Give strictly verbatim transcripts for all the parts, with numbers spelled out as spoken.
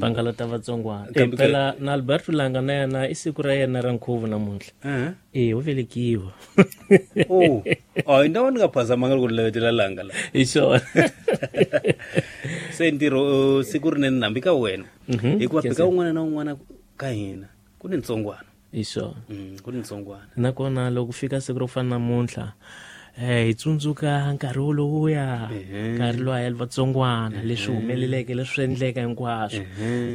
Pangalata vatsongwana. Phela na Alberto Langa na yena i siku ra yena ra nkhuvo namuntlha. Eh, u velekiwa. Oh, oh indawo ni nga phazamanga loko ni lavetela Langa la. Hi swona. Se ntirho siku rinene nambi ka wena. Hikuva fika un'wana na un'wana ka hina ku ni ntsongwana. Hi swona. Mm, ku ni ntsongwana. Nakona loko fika siku ro fana namuntlha eh hi tsundzuka nkarhi wolowuya nkarhi lowu a hi ri vatsongwana leswi humeleleke leswi endleka hinkwaswo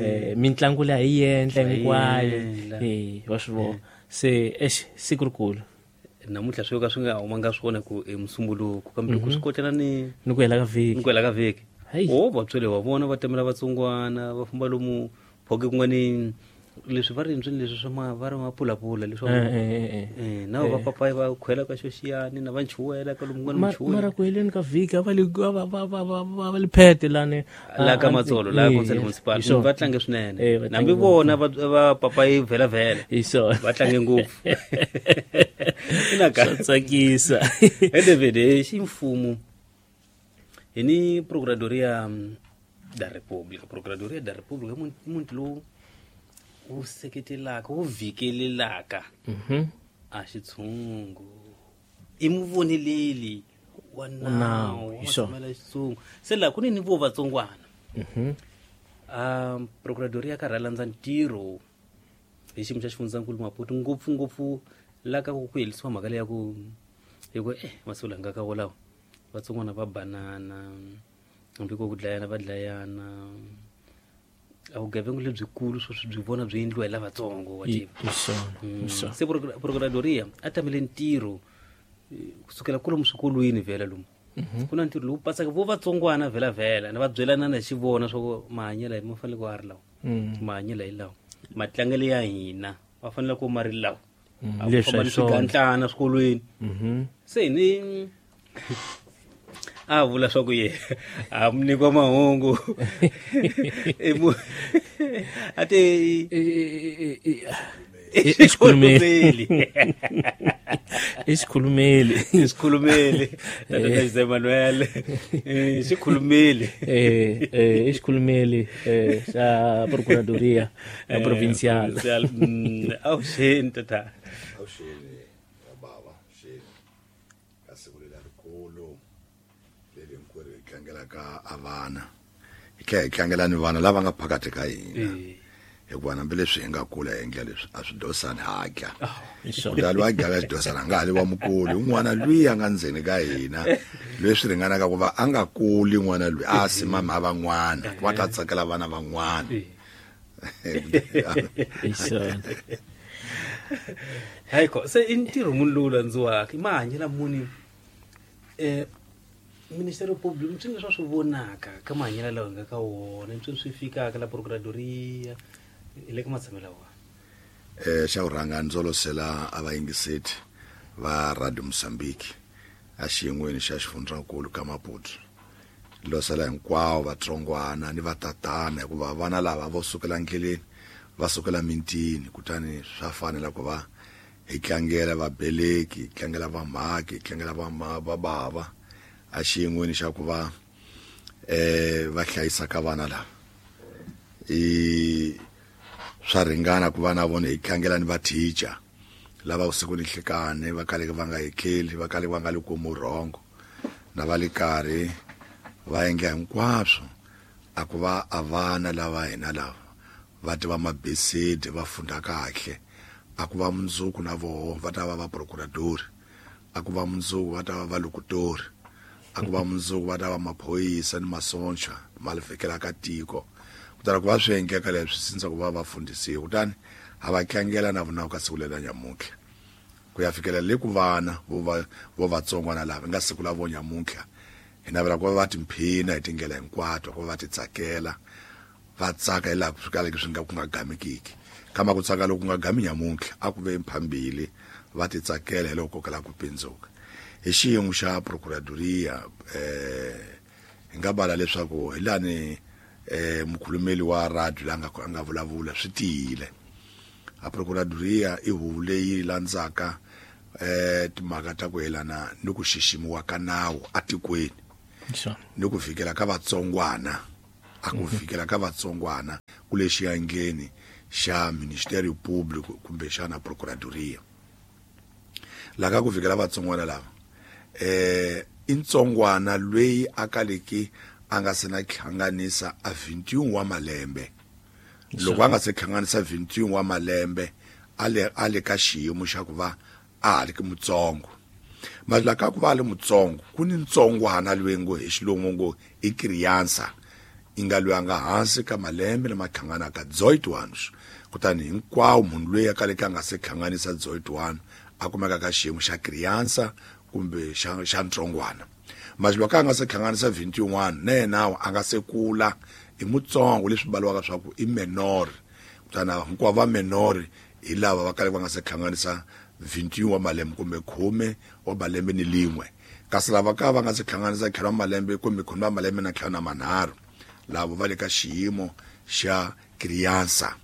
eh mintlangu leyi hi endla hinkwayo eh wa swi vona se ex siku rikulu namuntlha swi yo ka swi nga humanga swona ku i musumbuluko kambe loko swi kotela ni ni ku hela ka vhiki ni ku hela ka vhiki o vatswele wa vona va tamela vatsongwana va famba lomu phoke ku nga ni leswi va ri ntswini leswi swa ma va ri mapulapula leswi eh na va papayi va khwela ka xoxiyani na va nchuwela ka lomu nga ni nchuwela mara ku heleni ka vhiki va li va va va va li phete lani la ka Matsolo la Council Municipal va tlange swinene nambi vona va va papayi vhela vhela va tlange ngopfu ina ka tsakisa e David e ximfumo hi ni Procuradoria da República Procuradoria da República muntu lowu wu seketelaka wu vhikelelaka a xitshungu i muvoneleli wa nawu wa xitshungu se laha ku ni ni vo vatsongwana um Procuradoria ka rha landza ntirho hi xiyimo xa xifundzankulu Maputo ngopfungopfu la ka ku ku helisiwa mhaka leyi ya ku hi ku eh masiku la nga ka wolawo vatsongwana va banana hambi ko ku dlayana va dlayana a vugevenga lebyikulu sweswi byi vona byi endliwa hi lavatsongo wa tiva se Procuradoria a tamele ntirho kusukela kwalomu swikolweni vhela lomu ku na ntirho lowu pasaka vo vatsongwana vhela vhela na va byelana na xivona swa ku mahanyelo ma fanele ku a ri lawa mahanyelo hi lawa matlangelo ya hina va fanele ku ma ri lawa a ku famba ni swigantlana swikolweni se ni a vula swa ku ye a mu nyikiwa mahungu a te i xikhulumeli i xikhulumeli i xikhulumeli tata José Manuel i xikhulumeli eh eh i xikhulumeli eh xa Procuradoria Provincial avuxeni tata avuxeni baba xeni ka siku lerikulu leri hinkwerhu hi tlangelaka a vana hi tlhela hi tlangela ni vana lava nga phakathi ka hina hikuva hambileswi hi nga kula hi endla leswi a swi dosani hakya kutani loyi a gaka xidosana a nga ha li wa mukulu un'wana loyi a nga ndzeni ka hina loyi swi ringanaka ku va a nga kuli n'wana loyi a simama a van'wana va ta tsakela vana van'wana hayi ko se i ntirho muni lowu landziwaka i mahanyelo muni eh Ministério Público ntswini leswi swi vonaka ka mahanyelo lawa hi nga ka wona ntswini swi fikaka la Procuradoria hi le ka matshamelo lawa eh xa ku rhanga ndzolosela a vayingiseti va Radio Mozambique a xiyin'weni xa xifundzankulu ka Maputo losela hinkwawo vatsongwana ni vatatana hikuva vana lava vo sukela ndleleni va sukela mintini kutani swa fanela ku va hi tlangela vabeleki hi tlangela vamhaki hi tlangela va bava a xiyin'weni xa ku va eh va hlayisa ka vana lava i swa ringana ku va na vona hi tlangela ni vathicha lava usiku ni nhlikani va kaleke va nga etleli va kaleke va nga li kumi vurhongo na va le karhi va endla hinkwaswo a ku va a vana lava hina lava va tiva mabesedi va funda kahle a ku va mundzuku na voho va ta va va procuradori a ku va mundzuku va ta va valokutori a ku va mundzuku va ta va maphorisa ni masoncha ma li vhikela ka tiko kutani ku va swi endleka leswi sindza ku va va fundisiwa kutani a va tlangela na vona ka siku leri nyamuntlha ku ya fikela le ku vana vo va vo vatsongwana lava nga siku la vo nyamuntlha hi navela ku va va timphina hi tindlela hinkwato ku va va ti tsakela va tsaka hi laha ku fika leki swi nga ku nga gamekiki kama ku tsaka loku nga gami nyamuntlha a ku ve phambili va ti tsakela hi loko kokela ku pindzuka hi xiyimo xa Procuradoria eh hi nga bala leswaku hi lani eh mukhulumeli wa radio la nga a nga vulavula swi tiyile a Procuradoria i huvo leyi landzaka eh timhaka ta ku helana ni ku xiximiwa ka nawu atikweni ni ku fikela ka vatsongwana a ku fikela ka vatsongwana ku le xiyangeni xa Ministério Público kumbe xana Procuradoria. La ka ku vikela vatsongwana lava eh i ntsongwana loyi a kaleke a nga se na hlanganisa a vingt-et-un wa malembe. Loko a nga se hlanganisa vingt-et-un wa malembe a le a le ka xiyimo xa ku va a ha ri ki mutsongo. Mas la ka ku va a le mutsongo ku ni ntsongwana loyi ngo hi xilungu ngo i criança i nga loyi a nga hansi ka malembe lama hlanganaka dezoito anos. Kutani hinkwawo munhu loyi a kaleke a nga se hlanganisa dezoito anos a kumeka ka xiyimo xa criança kumbe xa xa ntsongwana. Mas loko a nga se hlanganisa vingt-et-un na yena a nga se kula i mutsongo leswi baliwaka swa ku i menor. Kutani hinkwavo va menor hi lava va kaleke va nga se hlanganisa vingt-et-un wa malembe kumbe khume wa malembe ni lin'we. Kasi lava ka va nga se hlanganisa ntlhanu wa malembe kumbe khume wa malembe na ntlhanu na manharhu lavo va le ka xiyimo xa criança.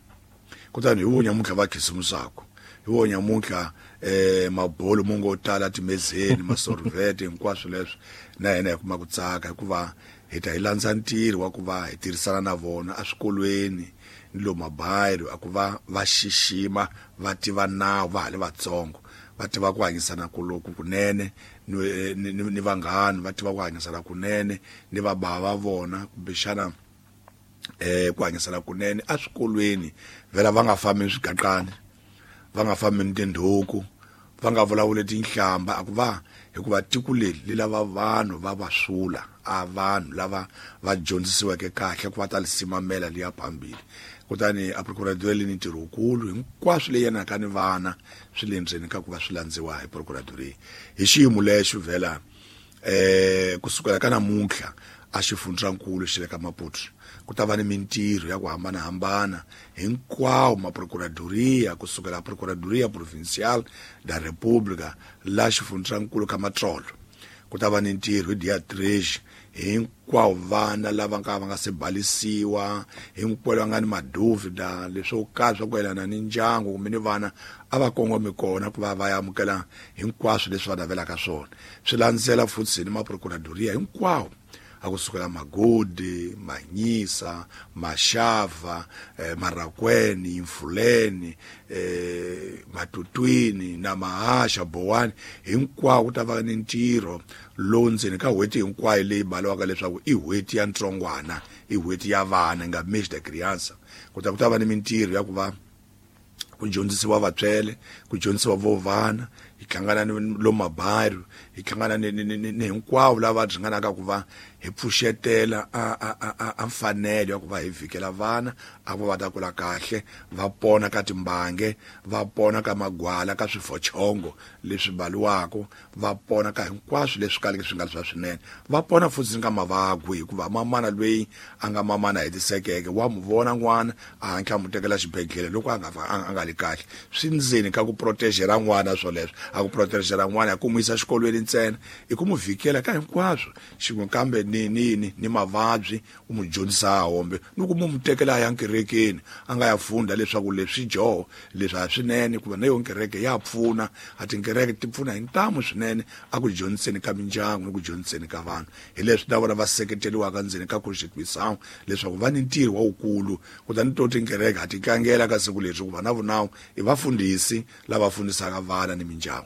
Kutani hi wo nyamuntlha va khisimusaku hi wo nyamuntlha eh mabolo mo ngo tala timezeni masorvete hinkwaswo leswi na yena hi kuma ku tsaka hikuva hi ta hi landza ntirho wa ku va hi tirhisana na vona eswikolweni ni lo mabayiro a ku va va xixima va tiva nawu va ha le vatsongo va tiva ku hanyisana ku kunene ni, ni, ni vanghana va tiva ku hanyisana kunene ni vabava va vona kumbexana eh ku hanyisana kunene eswikolweni vhela va nga fambi swigaqani va nga fambi ni tindhuku va nga vulavuli tinhlamba a ku va hikuva tiko leri li lava vanhu va va swula a vanhu lava va dyondzisiweke kahle ku va ta li simamela liya phambili. Kutani a procuradoria li ni ntirho wukulu hinkwaswo leyi yenaka ni vana swi le ndzeni ka ku va swi landziwa hi procuradoria. Hi xiyimo lexo vhela eh kusukela ka namuntlha a xifundzankulu xi le ka Maputo ku ta va ni mintirho ya ku hambanahambana hinkwawo maprocuradoria kusukela Procuradoria Provincial da República la xifundzankulu ka Matrolo ku ta va ni ntirho hi dia três hinkwawo vana lava nga va nga se balisiwa hinkwavo va nga ni maduvida leswo ka swa ku yelana ni ndyangu kumbe ni vana a va kongome kona ku va va ya amukela hinkwaswo leswi va navelaka swona. Swi landzela futhi ni maprocuradoria hinkwawo a kusukela Magodi, Manyisa, Mashava, eh, Marakweni, Mfuleni, eh, Matutwini na Mahasha, Bowani hinkwawo ku ta va ni ntirho lowu ndzeni ka n'hweti hinkwayo leyi baliwaka leswaku i n'hweti ya ntsongwana i n'hweti ya vana nga mês da criança. Ku ta ku ta va ni mintirho ya ku va ku dyondzisiwa vatswele ku dyondzisiwa vo vana hi hlangana ni lo mabayiro hi hlangana ni ni ni hinkwavo lava ringanaka ku va hi pfuxetela a a a a mfanelo ya ku va hi vikela vana a ku va ta kula kahle va pona ka timbange va pona ka magwala ka swifochongo leswi baliwaka va pona ka hinkwaswo leswi kaleke swi nga swa swinene va pona futhi nga mavagwi hikuva mamana loyi a nga mamana hetisekeke wa mu vona n'wana a hatla mu tekela xibedhlele loko a nga a nga li kahle swi ndzeni ka ku protegera n'wana swoleswo a ku protegera n'wana hi ku mu yisa xikolweni ntsena i ku mu vikela ka hinkwaswo xin'we kambe ni ni ni ni mavabyi u mu dyondzisa hombe ni ku mu mu tekela a ya nkerekeni a nga ya funda leswaku leswi joho leswi a swinene hikuva na yo nkereke ya pfuna a tinkereke ti pfuna hi ntamu swinene a ku dyondziseni ka mindyangu ni ku dyondziseni ka vanhu hi leswi na vona va seketeriwaka ndzeni ka Constituição leswaku va ni ntirho wa wukulu kutani to tinkereke ha ti tlangela ka siku leri hikuva na vunawu i vafundhisi lava fundisaka vana ni mindyangu.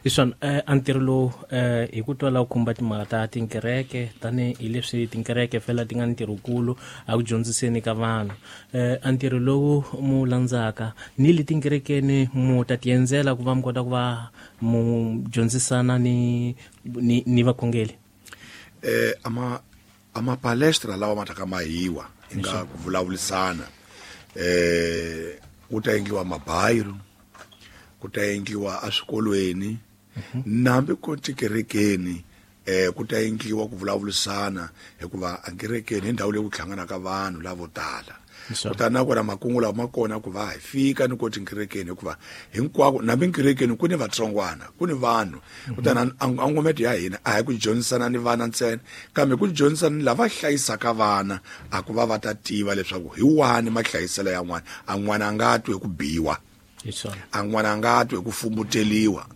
Hi swona eh, a ntirho lowu eh, hi ku twala ku khumba timhaka ta tinkereke tanihileswi tinkereke fela ti nga ntirhokulu a ku dyondziseni ka vanhu eh, a ntirho lowu mu landzaka ni le tinkerekeni mu ta ti endzela ku va mi kota ku va mu dyondzisana ni ni, ni vakhongeli eh, ama ama palestra lawa ma taka ma yiwa hi nga ku vulavurisana eh, ku ta endliwa mabayiro ku ta endliwa eswikolweni nambi ku tikerekeni eh ku ta endliwa ku vulavurisana hikuva ankerekeni hi ndhawu leyi ku hlanganaka vanhu lavo tala kutani na kona makungu lawa ma kona ku va hi fika ni ko tinkerekeni hikuva hinkwako nambi nkerekeni ku ni vatsongwana ku ni vanhu kutani angomete ya hina a hi ku dyondzisana ni vana ntsena kambe ku dyondzisana ni lava hlayisaka vana a ku va va ta tiva leswaku hi wani mahlayiselo ya n'wana a n'wana a nga twi hi ku biwa a n'wana a nga twi hi ku fumbuteliwa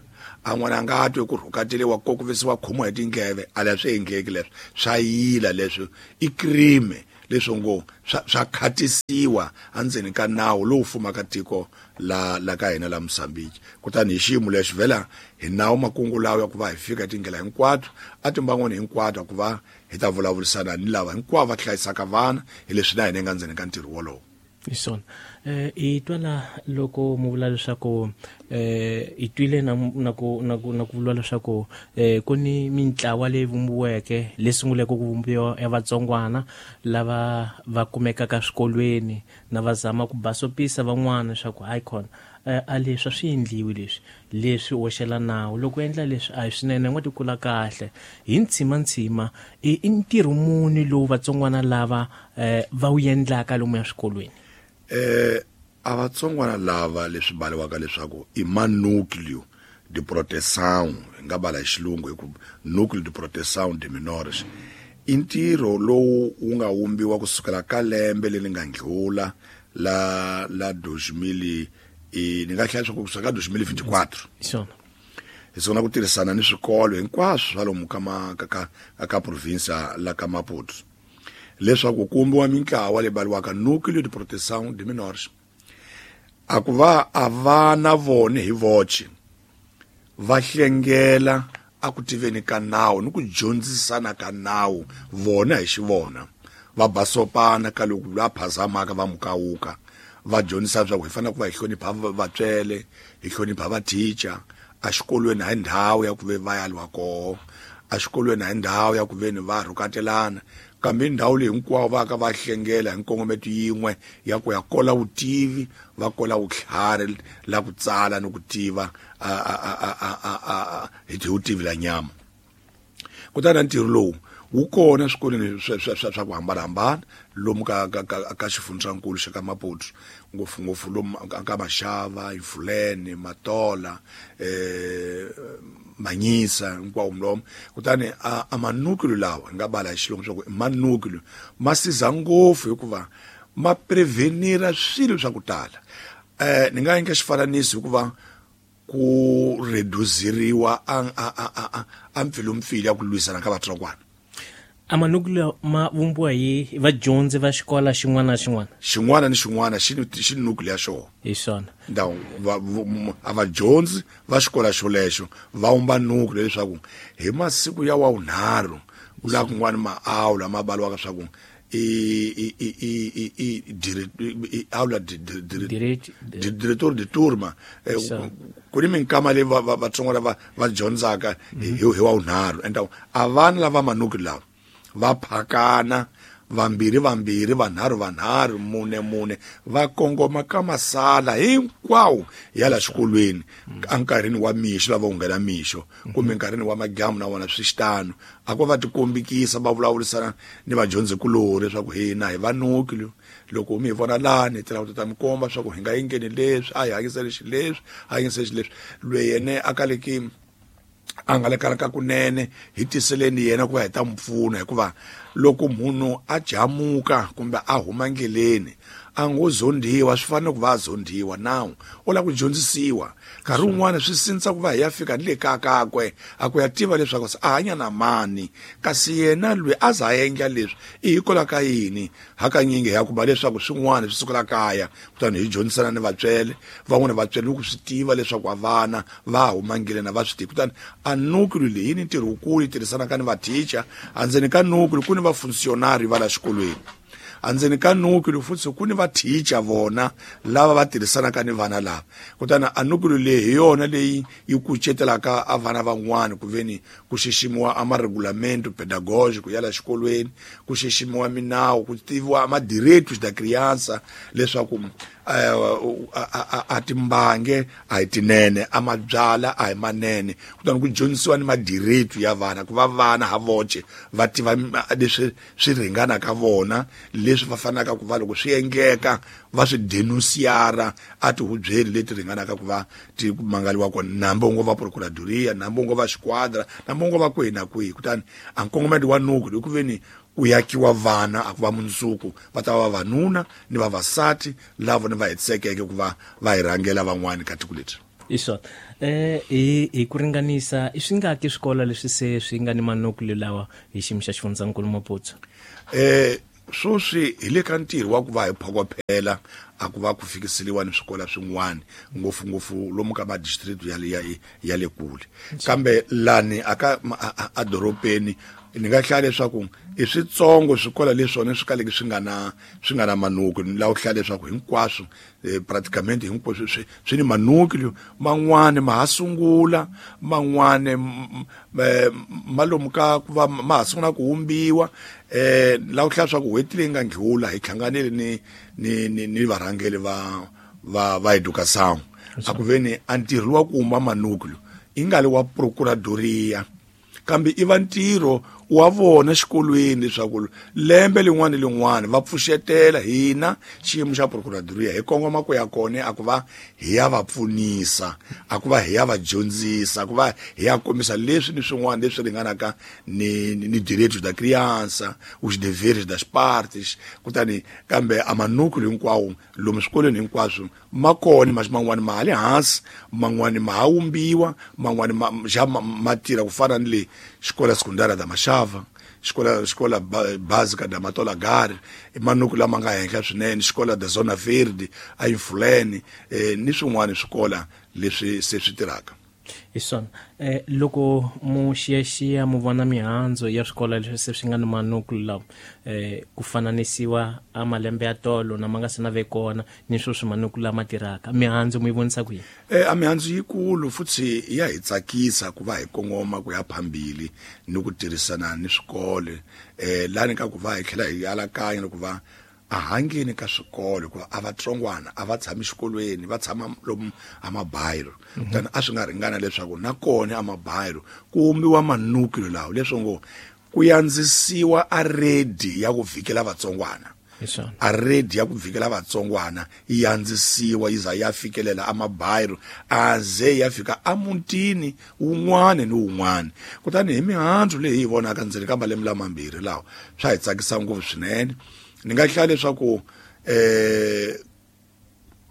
a n'wana a nga twi hi ku rhukateliwa ko ku visiwa khomiwa hi tindleve a leswi endleki leswi swa yila leswi i crime leswo ngo swa swa khatisiwa endzeni ka nawu lowu fumaka tiko la la ka hina la Mozambique. Kutani hi xiyimo lexi vhela hi nawu makungu lawa ya ku va hi fika tindlela hinkwato a timbangwini hinkwato ku va hi ta vulavurisana ni lava hinkwavo va hlayisaka vana hi leswi na hina hi nga ndzeni ka ntirho wolowo. Hi swona eh i twala loko mu vula leswaku eh i twile na na ku na ku na ku vula leswaku eh ku ni mintlawa leyi vumbiweke leyi sunguleke ku vumbiwa ya vatsongwana lava va kumekaka swikolweni na va zama ku basopisa van'wana leswaku hayi khona a leswi a swi endliwi leswi leswi hoxela nawu loko endla leswi a hi swinene ngo tikula kahle hi ntshima ntshima i ntirho muni lowu vatsongwana lava va wu endlaka lomu ya swikolweni? Eh a vatsongwana lava leswi baliwaka leswaku i ma núcleo de proteção hi nga bala hi xilungu hi ku núcleo de proteção de menores i ntirho lowu wu nga wumbiwa kusukela ka lembe leri nga ndlula la la dois mil i ni nga hlaya leswaku kusuka ka dois mil vinte e quatro Swona hi sungula ku tirhisana ni swikolo hinkwaswo swa lomu ka ma ka ka ka province la ka Maputo leswaku ku vumbiwa mintlawa leyi baliwaka núcleo de proteção de menores. A ku va a vana vona hi voce va hlengela a ku tiveni ka nawu ni ku dyondzisana ka nawu vona hi xivona va basopana ka loko va phazamaka va mukawuka va dyondzisa leswaku hi fanele ku va hi hlonipha vatswele hi hlonipha vathicha exikolweni hi ndhawu ya ku ve va ya lwa koho exikolweni hi ndhawu ya ku veni va rhukatelana kambe ndhawu leyi hinkwavo va ka va hlengela hi nkongometo yin'we ya ku ya kola vutivi va kola vutlhari la ku tsala ni ku tiva a a a a a hi vutivi la nyama. Kutani ntirho lowu wu kona swikolweni swa swa swa ku hambanahambana lomu ka ka ka xifundzankulu xa ka Maputo ngopfungopfu lomu ka Mashava, Ifuleni, Matola, eh Manyisa hinkwawo lomu. Kutani a, a manúcleo lawa hi nga bala hi xilungu swa ku manúcleo ma siza ngopfu hikuva ma prevenira swilo swa ku tala. Eh ni nga endla xifananiso hikuva ku reduziriwa a a a a mpfilumpfilu ya ku lwisana ka vatsongwana. A manúcleo ma vumbiwa hi vadyondzi va xikolo xin'wana na xin'wana xin'wana ni xin'wana xi ni xi núcleo ya xona. Hi swona ndhawu a vadyondzi va xikolo xolexo va vumba núcleo leswaku hi masiku ya wavunharhu ku la kun'wana maawula ma baliwaka swa ku i i i i i i aula diretor de turma ku ni minkama leyi vatsongwana va va dyondzaka hi hi wavunharhu ende a vana lava manúcleo lava va phakana vambirhi vambirhi vanharhu vanharhu mune mune va kongoma ka masala hinkwawo ya la xikolweni enkarhini wa mixo lava nghena mixo kumbe nkarhini wa madyambu na wona swi xitano a ko va tikombikisa va vulavurisana ni vadyondzikulori leswaku hina hi va núcleo loko mi hi vona lani hi tirha ku ta mi komba swa ku hi nga yingeni leswi a hi hanyisele xileswi a hanyisele xileswi lweyi yene a kaleki a nga le ka kunene hi tiseleni yena ku va hi ta mu pfuna hikuva loko munhu a jamuka kumbe a huma ndleleni a ngo zondiwa swi fanele ku va a zondiwa nawu u lava ku dyondzisiwa nkarhi wun'wana swi sindzisa ku va hi ya fika ni le kaya kakwe a ku ya tiva leswaku a hanya na mani kasi yena loyi a za a endla leswi i hikwalaho ka yini. Hakanyingi hi ya kuma leswaku swin'wana swi sukela kaya kutani hi dyondzisana ni vatswele van'wana vatswele loko swi tiva leswaku a vana va huma ndleleni a va swi tivi. Kutani a núcleo leyi yi ni ntirho wukulu yi tirhisanaka ni vathicha endzeni ka núcleo ku ni vafunsionari va la xikolweni endzeni ka núcleo futhi ku ni vathicha vona lava va tirhisanaka ni vana lava. Kutani a núcleo leyi hi yona leyi yi kucetelaka a vana van'wana ku veni ku xiximiwa a maregulamento pedagógico ya la xikolweni ku xiximiwa minawu ku tiviwa ma direitos da criança leswaku a timbange a hi tinene a mabyala a hi manene. Kutani ku dyondzisiwa ni madireto ya vana ku va vana ha voce va tiva leswi swi ringanaka vona leswi va fanaka ku va loko swi endleka va swi denunciara a tihubyeni leti ringanaka ku va ti mangaliwa kona nambe u ngo va procuradoria nambe u ngo va xiquadra nambe u ngo va kwihi na kwihi. Kutani a nkongometo wa núcleo i ku veni ku yakiwa vana a ku va mundzuku va ta va vavanuna ni vavasati lava ni va hetisekeke ku va va hi rhangela van'wani ka tiko leri. Hi swona eh hi hi ku ringanisa i swi ngaki swikolo leswi se swi nga ni manúcleo lawa hi xiyimo xa xifundzankulu Maputo? Eh Sweswi hi le ka ntirho wa ku va hi phokophela a ku va ku fikiseliwa ni swikolo swin'wana ngopfungopfu lomu ka ma-district ya le ya, ya le kule. Kambe lani aka a dorobeni ni nga hlaya leswaku i switsongo swikolo leswona swi kaleke swi nga na swi nga na manuku. Ni lava ku hlaya leswaku hinkwaswo eh, praticamente hinkwaswo swi swi ni manuku man'wani ma ha sungula, man'wani ma lomu ka ku va ma ha sungula ku humbiwa. Eh lava ku hlaya leswaku n'hweti leyi nga ndlula hi hlanganile ni ni ni, ni varhangeri va va va educação a ku veni a ntirho wa ku humba manuku i nga li wa procuradoria, kambe i va ntirho wa vona xikolweni leswaku lembe lin'wana ni lin'wana va pfuxetela hina xiyimo xa procuradoria hi kongoma ku ya kona a ku va hi ya va pfunisa, a ku va hi ya va dyondzisa, a ku va hi ya kombisa leswi ni swin'wana leswi ringanaka ni ni, ni direitos da criança, os deveres das partes. Kutani kambe a manuku hinkwawo lomu swikolweni hinkwaswo ma kona, mas man'wana ma ha le hansi, man'wana ma ha wumbiwa, man'wana ma ja ma tirha ku fana ni le xikola sekundara da Mashava, xikola xikola básica da Matola Gare, manuku lama nga henhla swinene, xikola da Zona Verde a Infulene, eh, ni swin'wana swikola leswi se swi tirhaka. Hi swona. Eh, loko mu xiyaxiya mu vona mihandzu ya swikolo leswi se swi nga ni manuku lawa, eh, ku fananisiwa a malembe ya tolo na ma nga se na ve kona ni sweswi manuku lama tirhaka, mihandzu mu yi vonisa ku yini? Eh, a mihandzu yikulu futhi ya hi tsakisa ku va hi kongoma ku ya phambili ni ku tirhisana ni swikolo, eh, lani ka ku va hi tlhela hi alakanya ku va a hangeni ka swikolo hikuva a vatsongwana a va tshami xikolweni, va tshama lomu a mabayiro. Kutani a swi nga ringana leswaku na kona a mabayiro ku humbiwa manuku lawo leswo ngo ku yandzisiwa a redi ya ku vhikela vatsongwana, a redi ya ku vhikela vatsongwana yi yandzisiwa yi za ya fikelela a mabayiro a ze ya fika a mutini wun'wana ni wun'wana. Kutani hi mihandzu leyi hi vonaka ndzeni ka malembe lamambirhi lawa swa hi tsakisa ngopfu swinene. Ni nga hlaya leswaku eh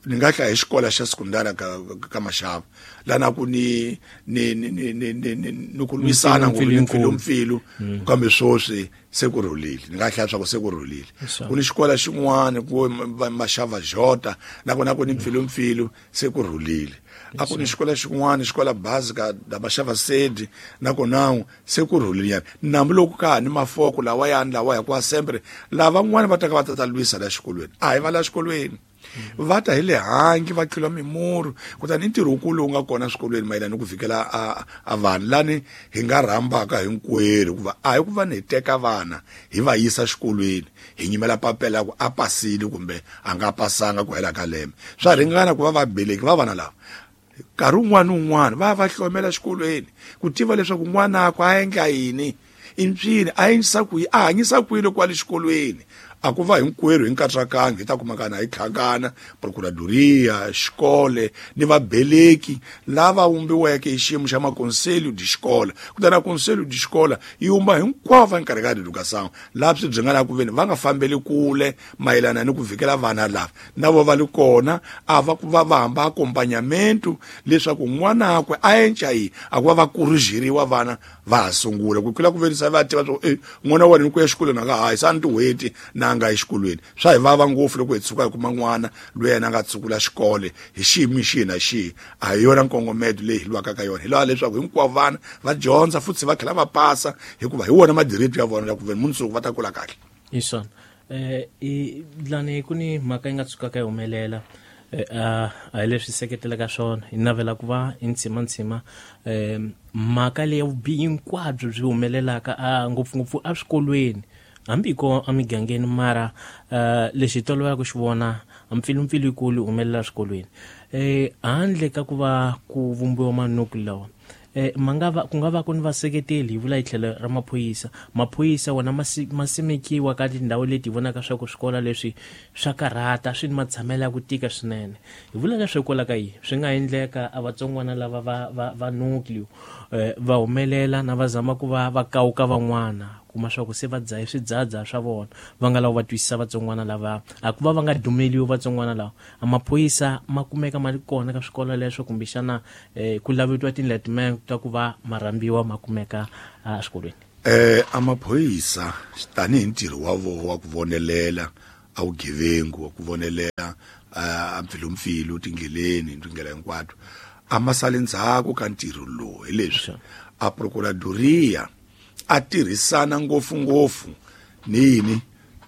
ni nga hlaya hi xikolo xa sekundara ka ka Mashava lana ku ni ni ni ni ni ni ku lwisana ngopfu ni mpfilumpfilu, kambe sweswi se ku rhulile. Ni nga hlaya leswaku se ku rhulile. Ku ni xikolo xin'wana ku Mashava Jota nakona ku ni mpfilumpfilu, se ku rhulile. A ku ni xikolo xin'wana xikola básica da Mashava Sede nakona se ku rhulile. Nambu loko ka ha ni mafoko lawa yani lawa ya kwa sempre lavan'wana va taka va ta ta lwisa la xikolweni, a hi va la xikolweni va ta hi le hangi va tlula mimuru. Kutani i ntirho wukulu lowu nga kona swikolweni mayelana ni ku vhikela a, a vanhu lani hi nga rhambaka hinkwerhu, hikuva a hi ku va ni hi teka vana hi va yisa xikolweni hi nyimela papela ya ku a pasile kumbe a nga pasanga ku hela ka lembe. Swa ringana ku va vabeleki va vana lava nkarhi wun'wana ni wun'wana va va hlomela xikolweni ku tiva leswaku n'wanakwe a endla yini, i mpyini, a endlisa ku yini, a hanyisa ku yini loko a le xikolweni. A ku va hinkwerhu hi nkatsakanyo hi ta kumakana hi tlhangana procuradoria, xikole ni vabeleki lava wumbiweke hi xiyimo xa maconselho de xikola. Kutani a conselho de xikola yi wumba hinkwavo va nkarhi ka educação laha swi byi nga na ku veni va nga fambeli kule mayelana ni ku vhikela vana lava na vo va li kona a va ku va va hamba accompagnamento leswaku n'wanakwe a enca yi a ku va va kurujeriwa vana va ha sungula ku tlula ku verisa va tiva swa eh n'wana wa wena ni ku ya xikolweni a nga hayi sa ni tin'hweti na nga exikolweni. Swa hi vava ngopfu loko hi tshuka hi kuma n'wana loyi yena a nga tsukula xikolo hi xiyimo xihi na xihi. A hi yona nkongometo leyi hi lwaka ka yona, hi lava leswaku hinkwavo vana va dyondza futhi va tlhela va pasa, hikuva hi wona madireti ya vona la ku veni mundzuku va ta kula kahle. Hi swona. Eh i lani ku ni mhaka yi nga tshukaka yi humelela, eh a hi leswi seketelaka swona, hi navela ku va hi ntshima eh mhaka leyi vubihi hinkwabyo byi humelelaka a ngopfungopfu eswikolweni hambi ko emigangeni, mara uh, lexi hi tolovelaka ku xi vona mpfilumpfilu yikulu humelela eswikolweni. Eh handle ka ku va ku vumbiwa manuku lawa, eh ma nga va ku nga va ku ni vaseketeli hi vula hi tlhelo ra maphorisa. Maphorisa wona ma simekiwa ka tindhawu leti hi vonaka swa ku swikolo leswi swa karhata swi ni matshamelo ya ku tika swinene. Hi vula leswi hikwalaho ka yini swi nga endleka a vatsongwana lava va va va nucleo eh, va humelela na va zama ku va va kawuka van'wana, kuma swa ku se va dzahe swidzadza swa vona va nga lava va twisisa vatsongwana lava a ku va va nga dumeliwi vatsongwana lava. A maphorisa ma kumeka ma ri kona ka swikolo leswo, kumbexana eh, ku lavetiwa tindlela tin'wana ta ku va ma rhambiwa ma kumeka eswikolweni. Eh a maphorisa tanihi ntirho wa vona wa ku vonelela a vugevengu wa ku vonelela a mpfilumpfilu tindleleni tindlela hinkwato a ma sali ndzhaku ka ntirho lowu hi leswi a procuradoria a tirhisana ngopfungopfu ni yini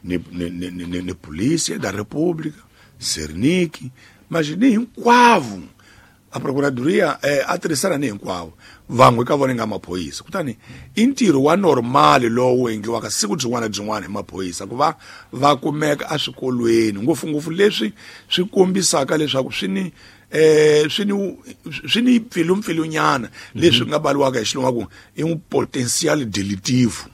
ni ni ni ni polícia da República Serniki mas ni hinkwavo a procuradoria eh, a tirhisana ni hinkwavo van'we ka vona nga maphorisa kutani i ntirho wa normal lowu endliwaka siku byin'wana byin'wana hi maphorisa ku va va kumeka eswikolweni ngopfungopfu leswi swi kombisaka leswaku swi ni eh swi ni swi ni mpfilumpfilunyana leswi nga baliwaka hi xilungu ku i un potential delitivo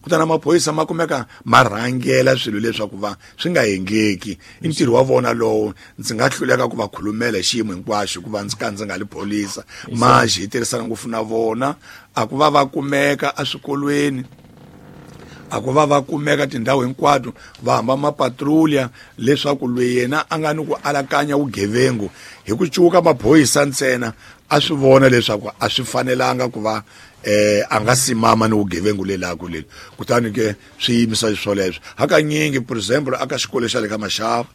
kutani maphorisa ma kumeka ma rhangela swilo leswaku va swi nga hengeki i ntirho wa vona lowo ndzi nga hluleka ku va khulumela hi xiyimo hinkwaxo hikuva ndzi ka ndzi nga li pholisa maxi hi tirhisana ngopfu na vona a ku va va kumeka eswikolweni a ku va va kumeka tindhawu hinkwato va hamba mapatrulia leswaku loyi yena a nga ni ku alakanya vugevengu hi ku cuka maphorisa ntsena a swi vona leswaku a swi fanelanga ku va eh a nga simama ni vugevengu lelaku leli kutani ke swi yimisa swoleswo hakanyingi for example aka xikolo xa le ka Mashava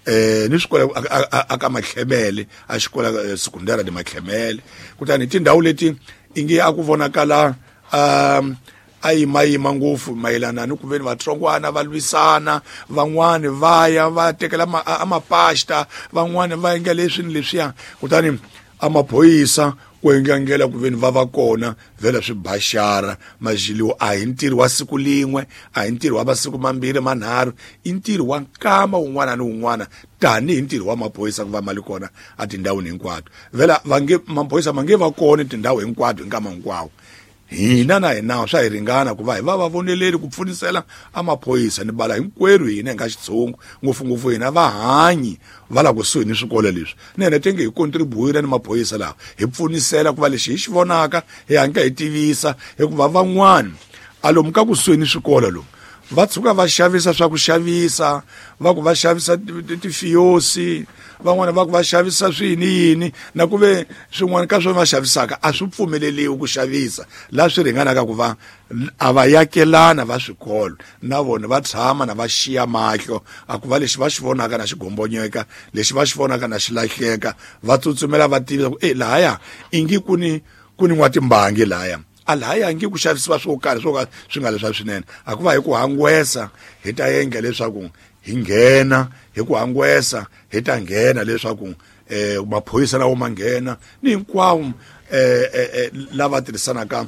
eh ni swikolo aka Matlhemele a xikolo secondary de Matlhemele kutani tindhawu leti ingi a ku vonakala um a yimayima ngopfu mayelana ni ku veni vatsongwana va lwisana van'wani va ya va tekela a mapasta van'wani va endla leswi ni leswiya kutani a maphorisa ku endla ku veni va va kona vhela swi baxara majiliwo a hi ntirho wa siku lin'we a hi ntirho wa masiku mambirhi manharhu i ntirho wa nkama wun'wana ni wun'wana tanihi ntirho wa maphorisa ku va mali kona etindhawini hinkwato vhela va nge maphorisa ma nge va kona tindhawu hinkwato hi nkama hinkwawo hina na hina swa hi ringana ku va hi va va voneleri ku pfunisela a maphorisa ni bala hinkwerhu hina hi nga xitshungu ngopfungopfu hina vahanyi va la kusuhi ni swikolo leswi ni hina tenge hi contribuire ni maphorisa lawa hi pfunisela ku va lexi hi xi vonaka hi hanga hi tivisa hikuva van'wana a lomu ka kusuhi ni swikolo lomu va tshuka va xavisa swa ku xavisa va ku va xavisa tifiyosi van'wana va ku va xavisa swini yini na ku ve swin'wana ka swona va xavisaka a swi pfumeleliwi ku xavisa laha swi ringanaka ku va a va yakelana va swikolo na vona va tshama na va xiya mahlo a ku va lexi va xi vonaka na xi gombonyeka lexi va xi vonaka na xi lahleka va tsutsumela va tivisa ku e lahaya ingi ku ni ku ni n'watimbangi lahaya a lahaya ngi ku xavisiwa swo karhi swo ka swi nga leswa swinene a ku va hi ku hangwesa hi ta endla leswaku hi nghena hi ku hangwesa hi ta nghena leswaku eh maphorisa lawo ma nghena ni hinkwawo eh lava tirhisanaka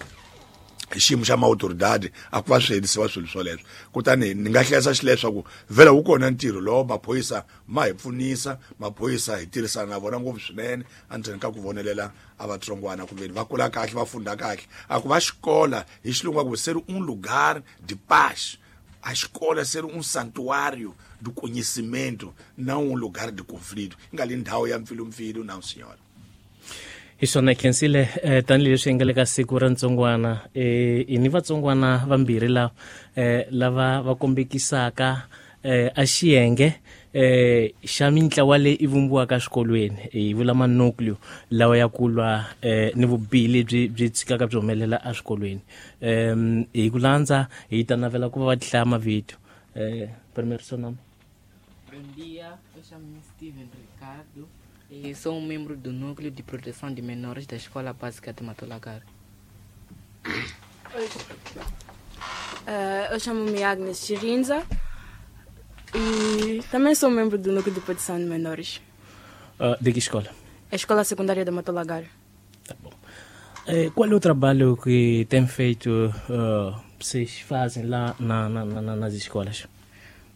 hi xiyimo xa maautoridade a ku va swi herisiwa swilo swoleswo kutani ni nga hlayisa xileswaku vhela wu kona ntirho lowo maphorisa ma hi pfunisa maphorisa hi tirhisana na vona ngopfu swinene endzeni ka ku vonelela a vatsongwana kumbe va kula kahle va funda kahle a ku va xikola hi xilungu ku ser un lugar de paz a xikola ser un santuário do conhecimento não um lugar de conflito nga li ndhawu ya mpfilumpfilu na senhora hi swona khensile eh, tanihileswi hi nga le ka siku ra ntsongwana eh, hi ni vatsongwana vambirhi lava eh, lava va kombekisaka eh, a xiyenge eh, xa mintlawa leyi i vumbiwaka eswikolweni hi vula manucleo lawa ya ku lwa eh, ni vubihi lebyi byi tshikaka byi humelela eswikolweni um hi ku landza hi ta navela ku va va hlaya mavito eh, primeiro seu nome. Bom dia, eu chamo-me Steven Ricardo e sou um membro do Núcleo de Proteção de Menores da Escola Básica de Matolagar. Oi. Uh, eu chamo-me Agnes Chirinza e também sou membro do Núcleo de Proteção de Menores. Uh, de que escola? A Escola Secundária de Matolagar. Tá bom. Uh, qual é o trabalho que tem feito, uh, vocês fazem lá na, na, na, nas escolas?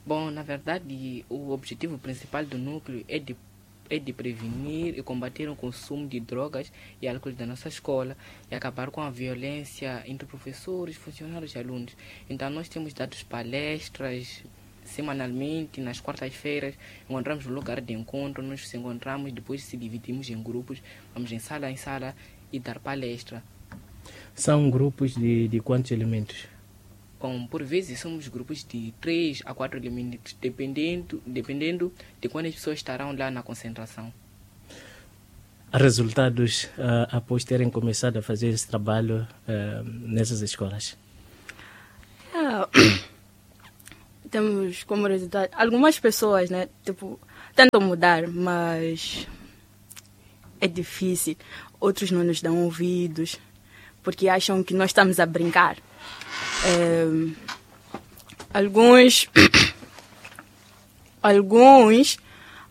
Bom, na verdade, o objetivo principal do núcleo é de, é de prevenir e combater o consumo de drogas e álcool da nossa escola e acabar com a violência entre professores, funcionários e alunos. Então, nós temos dado palestras semanalmente, nas quartas-feiras, encontramos um lugar de encontro, nós nos encontramos, depois se dividimos em grupos, vamos em sala em sala e dar palestra. São grupos de, de quantos elementos? Bom, por vezes somos grupos de três a quatro elementos, dependendo, dependendo de quantas pessoas estarão lá na concentração. Resultados uh, após terem começado a fazer esse trabalho uh, nessas escolas? Yeah. Temos como resultado algumas pessoas, né, tipo, tentam mudar, mas é difícil. Outros não nos dão ouvidos porque acham que nós estamos a brincar. É, alguns alguns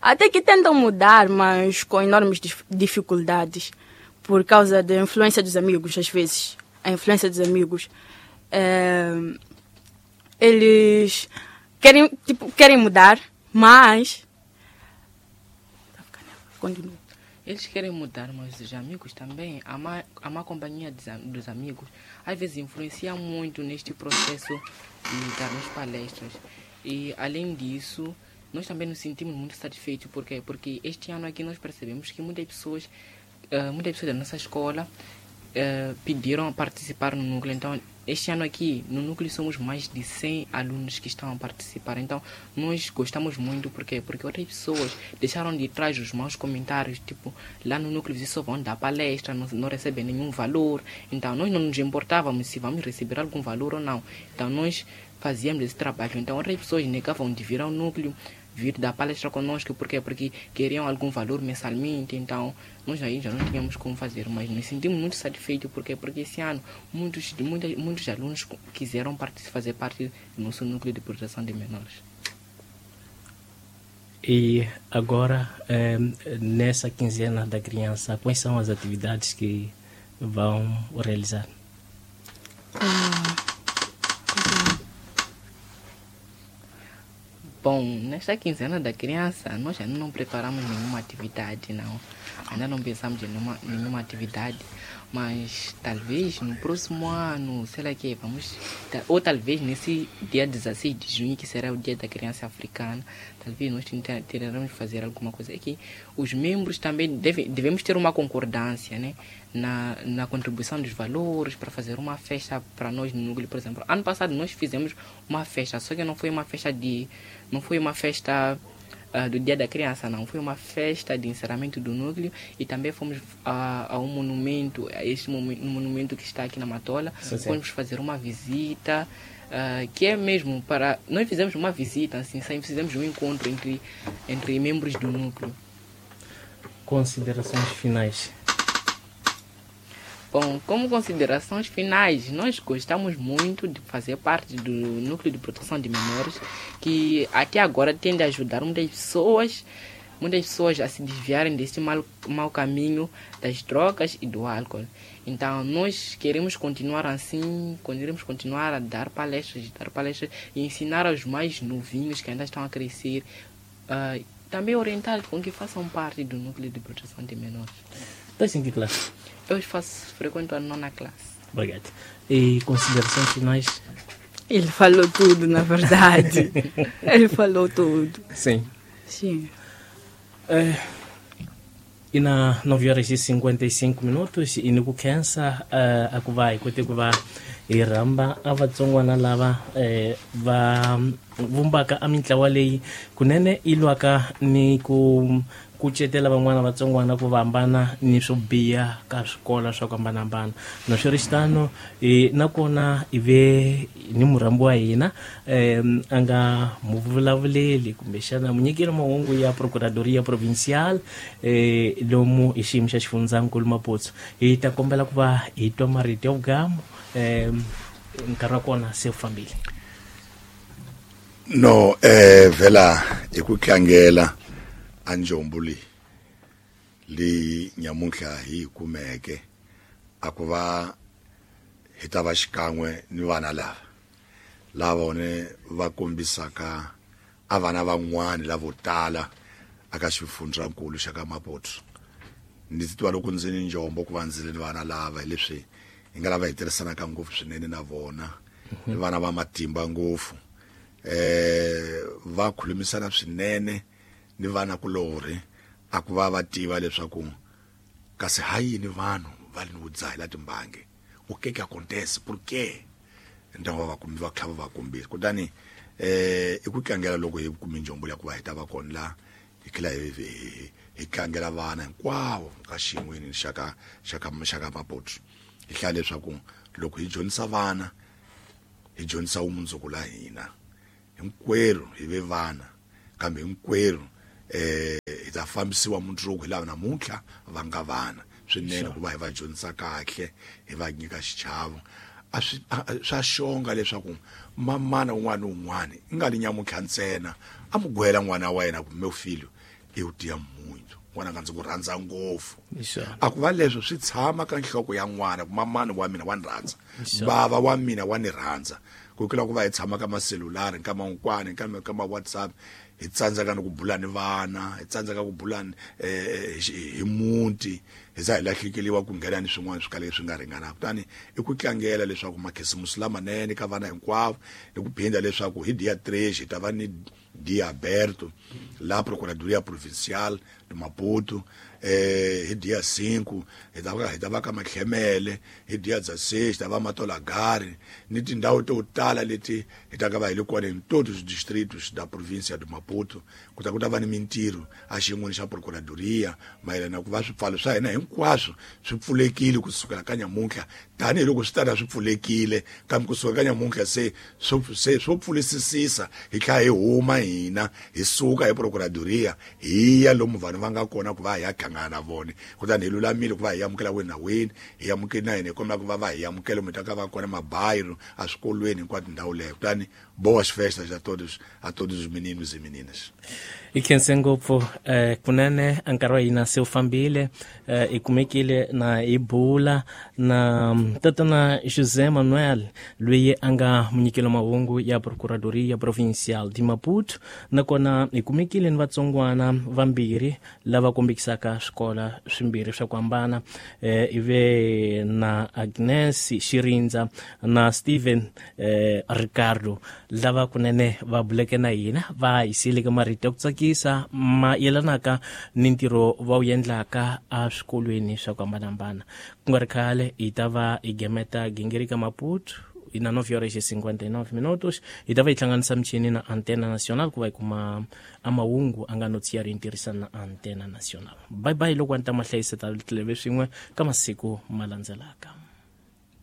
até que tentam mudar, mas com enormes dificuldades por causa da influência dos amigos, às vezes. A influência dos amigos. É, eles querem, tipo, querem mudar, mas... Continua. Eles querem mudar, mas os amigos também, a má, a má companhia dos, dos amigos, às vezes influencia muito neste processo de dar as palestras. E, além disso, nós também nos sentimos muito satisfeitos. Por quê? Porque este ano aqui nós percebemos que muitas pessoas, uh, muitas pessoas da nossa escola uh, pediram participar no núcleo. Então, este ano aqui, no núcleo, somos mais de cem alunos que estão a participar. Então, nós gostamos muito. Por quê? Porque outras pessoas deixaram de trás os maus comentários, tipo, lá no núcleo vocês só vão dar palestra, não, não recebem nenhum valor. Então, nós não nos importávamos se vamos receber algum valor ou não. Então, nós fazíamos esse trabalho. Então, outras pessoas negavam de vir ao núcleo, vir dar palestra conosco. Por quê? Porque queriam algum valor mensalmente. Então, nós aí já não tínhamos como fazer, mas nos sentimos muito satisfeitos. Por quê? Porque esse ano muitos, muitos, muitos alunos quiseram fazer parte do nosso núcleo de proteção de menores. E agora, eh, nessa quinzena da criança, quais são as atividades que vão realizar? Ah. Bom, nesta quinzena da criança, nós ainda não preparamos nenhuma atividade, não. Ainda não pensamos em nenhuma, nenhuma atividade, mas talvez no próximo ano, sei lá que, vamos... Ou talvez nesse dia dezesseis de junho, que será o dia da criança africana, talvez nós teremos que fazer alguma coisa. É que os membros também devem, devemos ter uma concordância, né? Na, na contribuição dos valores para fazer uma festa para nós no núcleo. Por exemplo, ano passado nós fizemos uma festa, só que não foi uma festa de... Não foi uma festa uh, do Dia da Criança, não. Foi uma festa de encerramento do núcleo e também fomos a, a um monumento, a este monumento que está aqui na Matola. Sim, sim. Fomos fazer uma visita, uh, que é mesmo para... Nós fizemos uma visita, assim, fizemos um encontro entre, entre membros do núcleo. Considerações finais. Bom, como considerações finais, nós gostamos muito de fazer parte do Núcleo de Proteção de Menores, que até agora tende a ajudar muitas pessoas, muitas pessoas a se desviarem desse mau, mau caminho das drogas e do álcool. Então, nós queremos continuar assim, queremos continuar a dar palestras, dar palestras e ensinar aos mais novinhos que ainda estão a crescer, uh, também orientar com que façam parte do Núcleo de Proteção de Menores. Estás em que classe? Eu faço, frequento a nona classe. Obrigado. E considerações finais? Ele falou tudo, na verdade. Ele falou tudo. Sim. Sim. É, e na nove horas e cinquenta e cinco minutos, e no kukensa akuva ikote kuva iramba avatsongwana lava va vumbaka a mintlawa leyi kunene i lwaka ni ku kucetela van'wana vatsongwana ku hambana ni swo biha ka swikolo swa ku hambanahambana. Na swi ri xitano nakona i ve ni murhambi wa hina um a nga muvulavuleli kumbexana munyikeli mahungu ya Procuradoria Provincial um lomu hi xiyimo xa xifundzankulu Maputo. Hi ta kombela ku va hi twa marito ya vugamu um nkarhi wa kona se wu fambile. No, eh vela hi ku tlangela a njombo leyi leyi nyamuntlha hi yi kumeke a ku va hi ta va xikan'we ni vana lava lava vone va kombisaka a vana van'wani lavo tala aka xifundzankulu xa ka Maputo. Ndzi titwa loko ndzi ni njombo ku va ndzi ri ni vana lava hi leswi hi nga lava hi tirhisanaka ngopfu swinene na vona, ni vana va matimba ngopfu, eh va khulumisana swinene ni vana kulorhi a ku va va tiva leswaku kasi ha yini vanhu va ni vudzahela timbangi, o que que acontece, por quê? Então va va kumbi va tlhava va kombisa. Kutani eh i ku tlangela loko hi kume njombo ya ku va hi ta va kona la hi tlhela hi hi tlangela vana hinkwavo ka xiyin'weni xa ka xa ka xa ka Maputo. Hi hlaya leswaku loko hi dyondzisa vana hi dyondzisa vumundzuku la hina hinkwerhu hi ve vana kambe hinkwerhu eh hi ta fambisiwa mundzuku hi lava namuntlha va nga vana swinene ku va hi va dyondzisa kahle hi va nyika xichavo a swi swa xonga leswaku mamana un'wana un'wana i nga li nyamuntlha ntsena a mu gwela n'wana wa yena ku meu filho eu te amo muito n'wana nga ndzi ku rhandza ngopfu a ku va leswo swi tshama ka nhloko ya n'wana ku mamana wa mina wa ni rhandza bava wa mina wa ni rhandza ku kula ku va hi tshama ka maselulari nkama un'wana nkama ka ma WhatsApp hi tsandzeka ni ku bula ni vana hi tsandzeka ku bula eh hi muti hi za hi lahlekeliwa ku nghena ni swin'wana swi kale swi nga ringanaka kutani i ku tlangela leswaku makhisimusi lamanene ka vana hinkwavo ni ku phinda leswaku hi dia três hi ta va ni dia aberto la Procuradoria Provincial de Maputo eh hi dia cinco hi ta va hi ta va ka Matlhemele hi dia dezesseis ta va Matolagari ni tindhawu to tala leti hi ta ka va hi le kona em todos os distritos da província de Maputo ku ta ku ta va ni mintirho a xiyin'weni xa Procuradoria mayelana ku va swipfalo swa hina hinkwaswo swi pfulekile kusukela ka nyamuntlha tanihiloko swi tala swi pfulekile kambe kusuka ka nyamuntlha se swo se swo pfulisisisa hi tlhela hi huma hina hi suka hi Procuradoria hi ya lomu vanhu va nga kona ku va hi ya hlangana na vona kutani hi lulamile ku va hi amukela wena wini hi amukela na hina hi kombela ku va va hi amukela mi ta ka va kona mabayiro eswikolweni hinkwato tindhawu leyo kutani boas festas a todos a todos os meninos e meninas. I khense ngopfu eh kunene nkarhi wa hina se wu fambile eh i kumekile na hi bula na tatana José Manuel loyi a nga munyikelo mahungu ya Procuradoria Provincial de Maputo nakona hi kumekile ni vatsongwana vambirhi lava kombekisaka swikola swimbirhi swa ku hambana eh ive na Agnes Shirindza na Steven eh Ricardo lava kunene va buleke na hina va hi siyeleke marito ya ku tsakisa ma yelanaka ni ntirho va wu endlaka eswikolweni swa ku hambanahambana ku nga ri khale hi ta va hi gemeta gingirika Maputo na nove horas e cinquenta e nove minutos hi ta va hi hlanganisa michini na Antena Nacional ku va hi kuma amahungu a nga noticiário ntirhisana na Antena Nacional. Bye bye loko a ni ta ma hlayisa ta tleve swin'we ka masiku ma landzelaka.